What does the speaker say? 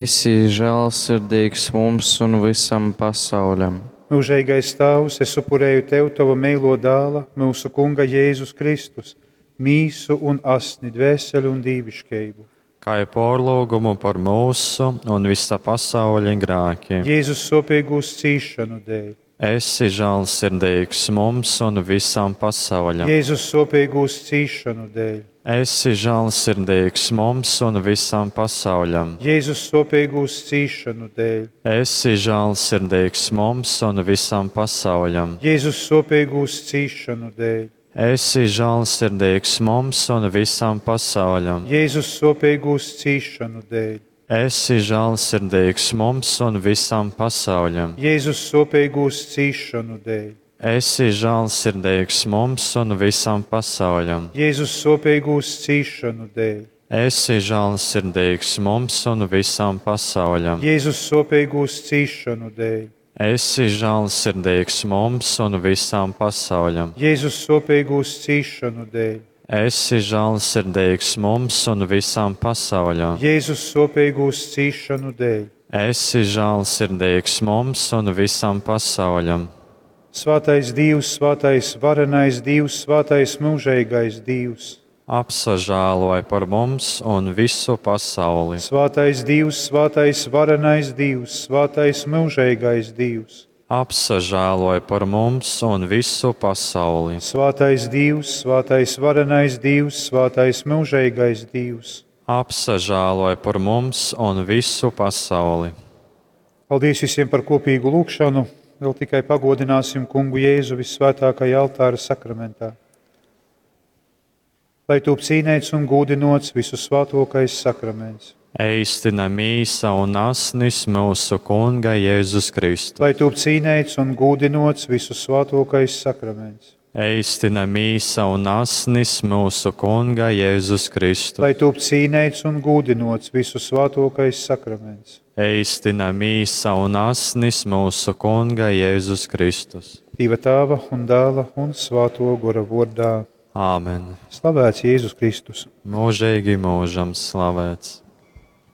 Esi žēlsirdīgs mums un visam pasauļam. Mūžīgais Tēvs, es upurēju Tev Tava mīlo dēla, mūsu Kunga Jēzus Kristus, mīsu un asni, dvēseli un dīviškību. Kā porlūgumu par mūsu un visa pasaules grēkiem. Jēzus sopīgūs cīšanu dēļ. Esi žēlsirdīgs mums un visam pasauļam. Jēzus sopīgūs cīšanu dēļ. Esi žēlsirdīgs mums un visam pasauļam. Jēzus sopīgūs cīšanu dēļ. Esi žēlsirdīgs mums un visam pasauļam. Jēzus sopīgūs cīšanu dēļ. Esi žēlsirdīgs mums un visam pasauļam. Jēzus sopīgūs cīšanu dēļ. Esi žēlsirdīgs mums un visam pasauļam. Jēzus sopīgūs cīšanu dēļ. Esi žēlsirdīgs mums un visam pasauļam. Jēzus sopīgūs cīšanu dēļ. Esi žēlsirdīgs mums un visam pasauļam. Jēzus sopīgūs cīšanu dēļ. Esi žēlsirdīgs mums un visam pasauļam. Jēzus sopīgūs cīšanu dēļ. Esi žēlsirdīgs mums un visam pasauļam. Jēzus sopīgūs cīšanu dēļ. Esi žēlsirdīgs mums un visam pasauļam. Svētais Dievs, svētais varenais Dievs, svētais mūžīgais Dievs. Apsažēloj par mums un visu pasauli. Svētais Dievs, svētais varenais Dievs, svētais mūžīgais Dievs. Apsažēloj par mums un visu pasauli. Svētais Dievs, svētais varenais Dievs, svētais mūžīgais Dievs. Apsažēloj par mums un visu pasauli. Paldies visiem par kopīgu lūgšanu. Vēl tikai pagodināsim kungu Jēzu vissvētākajā altāra sakramentā. Lai tūp cīnēts un gūdinots visu svētākais sakraments. Eistina mīsa un asnis mūsu Kunga Jēzus Kristus. Lai tūp cīnēts un gūdinots visu svētākais sakraments. Eistina mīsa un asnis mūsu Kunga Jēzus Kristus. Lai tūp cīnēts un gūdinots visu svētākais sakraments. Eistina mīsa un asnis mūsu Kunga Jēzus Kristus. Dieva tēva un dēla un svēto gora vārdā. Āmen. Slavēts Jēzus Kristus! Mūžīgi mūžam slavēts.